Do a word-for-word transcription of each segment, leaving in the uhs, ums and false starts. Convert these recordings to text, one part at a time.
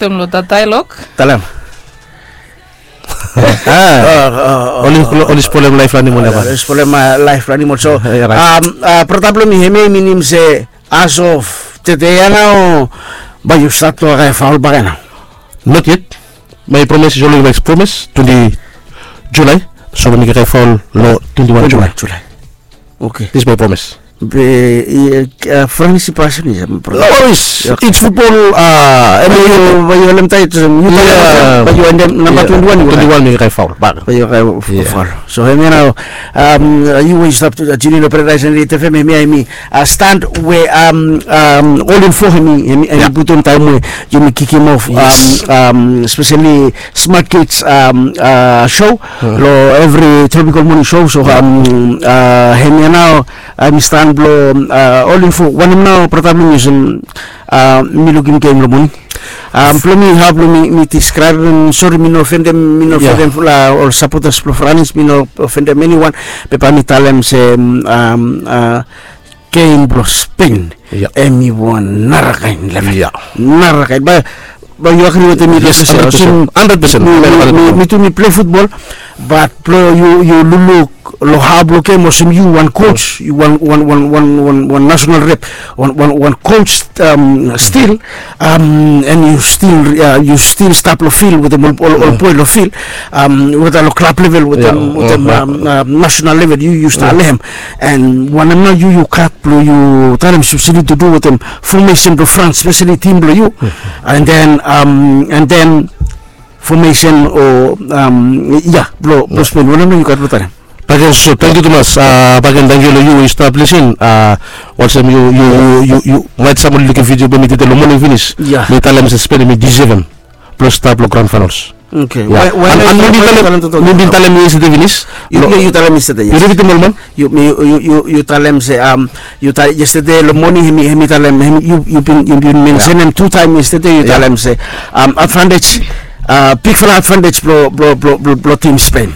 Tun lo dat dialog. Talem. Oli spolem laef blong animol ya. Spolem laef blong animol. So brata blong mi, hemia i minim se as of tede ya nao bae yu stat long kae faol bak ya nao? Not yet. My promise is always my promise. Twenti Julai. So bae mi kae faol long twenti wan Julai. This is my promise. Be Franis i pasin ya. Always. It's football. Bae yu holem taet. Bae yu holem namba twenti wan. Twenti wan mi kae faol bak. Bae yu kae faol. So hemia nao yu we yu stap tuning long Paradise and Rit F M, hemia hemi stan we All Info hemi putum taem we yumi kikim of, speseli Smart Kids show long evri Tropical Morning Show. So hemia nao hemi stan blong All Info. Wanem nao brata blong mi olsem mi lukim gem long moning. Blong mi hao blong mi deskraebem, sori mi no ofendem, mi no ofendem ol sapotas blong Franis, mi no ofendem eniwan. Be bae mi talem se gem blong Spen hemi wan narakaen level. Narakaen. Bae yu agri wetem mi? Yes, handred pesen. Mi tu mi pilai futbol, bat blong yu lukluk long hao blong gem olsem yu wan coach, yu wan nasonal rep, wan coach stil, and yu stil, yu stil stap long fil wetem ol boe long fil, weta long klab level, wetem nasonal level yu yu stap long hem. And wanem nao yu yu gat blong yu talem speseli tu du wetem fomesen blong Frans, speseli tim blong yu, and then, and then fomesen o ya blong Spen, wanem nao yu gat blong talem? Baken, so tangkiu tumas. Baken, tangkiu long yu we yu stap lisin. Olsem yu, yu maet sam oli lukim vidio blong mi tede long moning finis. Mi talem se Spen hemi disevem blong stap long grand finals. Oke. Mi bin talem yestede finis. Yu talem yestede, yes. Yu ripitim ol man. Yu talem se yestede long moning hemi talem, yu bin mensenem tu taem yestede, yu talem se advantej, bigfala advantej blong tim Spen.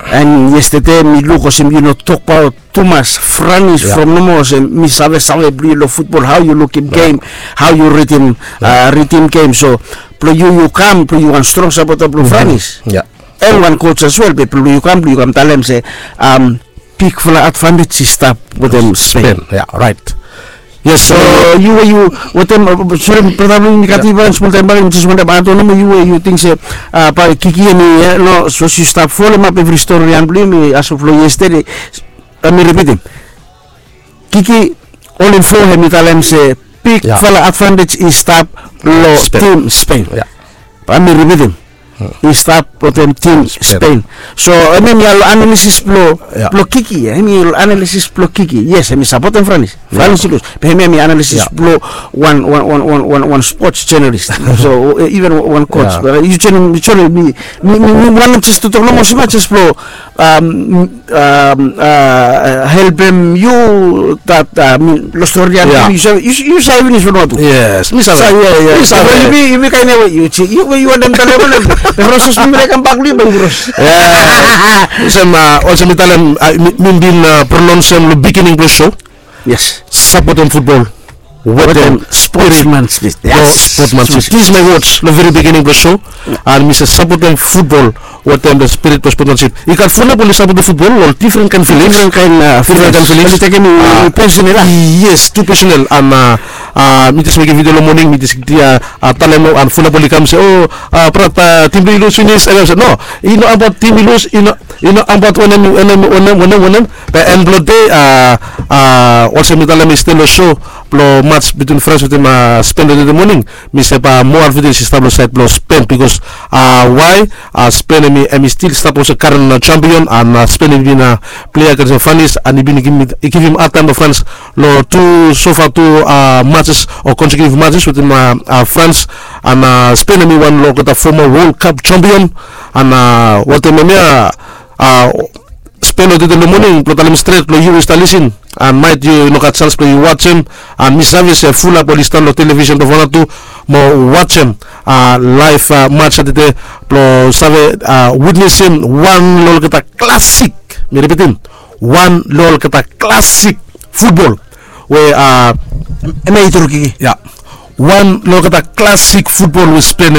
And yestede mi luk olsem yu no tokbaot tumas Franis from nomo olsem mi savesave blong yu long futbol, hao yu lukim gem, hao yu ridim, ridim gem. So blong yu yu kam blong yu wan strong sapota blong Franis, and wan coach as well, be blong yu kam blong yu kam talem se bigfala advantej i stap wetem Spen. Yes. So yu we yu wetem, sori brata blong mi, mi gat wan smol taem bak, mi jes wantem add on nomo, yu we yu ting se bae Kiki hemi, no, sapos yu stap folemap evri stori ya blong yumi as of long yestede, bae mi ripitim. Kiki, All Info hemi talem se bigfala advantej i stap long tim Spen. Bae mi ripitim. I stap wetem tim Spen. So hemia long analisis blong Kiki, hemia long analisis blong Kiki. Yes, hemi sapotem Franis. Franis i lus. Be hemia hemi analisis blong wan, wan, wan spots jenalis. So iven wan coach. Yu joenem, yu joenem mi, mi wantem jes tu tok nomo smol jes blong helpem yu, dat long stori ya. Yu save finis Vanuatu. Yes, mi save. Yumi kaen ya we yu, yu wantem talem wanem? Be proses mi laik kambak long yu bae yu pros. Olsem, olsem mi talem, mi bin pronounsem long beginning blong show. Yes. Sapotem futbol wetem spirit blong sportsmanship. This is my words long very beginning blong show. And mi se sapotem futbol wetem the spirit blong sportsmanship. I gat fulap oli sapotem futbol long difren kaen filings. Difren kaen filings. Oli tekem i personal. Yes, tu personal. And mi jes mekem vidio long moning, mi jes talem, and fulap oli kam se, o brata, tim blong yu i lus finis. And mi se no, i no abaot tim i lus, i no, i no abaot wanem, wanem, wanem, wanem. Be en blong dei, olsem mi talem yestede long show, blong mats bitwin Frans wetem Spen tede moning, mi se bae moa advantage i stap long saed blong Spen, bikos why? Spen hemi, hemi stil stap olsem karen champion, and Spen hemi bin plei agens Franis, and i bin givim, i givim had taem long Frans long tu, so far tu matches o consecutive matches wetem Frans, and Spen hemi wan olgeta former World Cup champion, and wetem hemia Spen, long tede long moning, blong talem stret long yu we yu stap lisin, and maet yu no gat janis blong yu wajem, and mi save se fulap oli stan long televisen blong Vanuatu mo wajem laef mats ya tede blong save witnesem wan long olgeta klasik, mi ripitim, wan long olgeta klasik futbol we, hemia i tru, Kiki. Ya. Wan long olgeta klasik futbol we Spen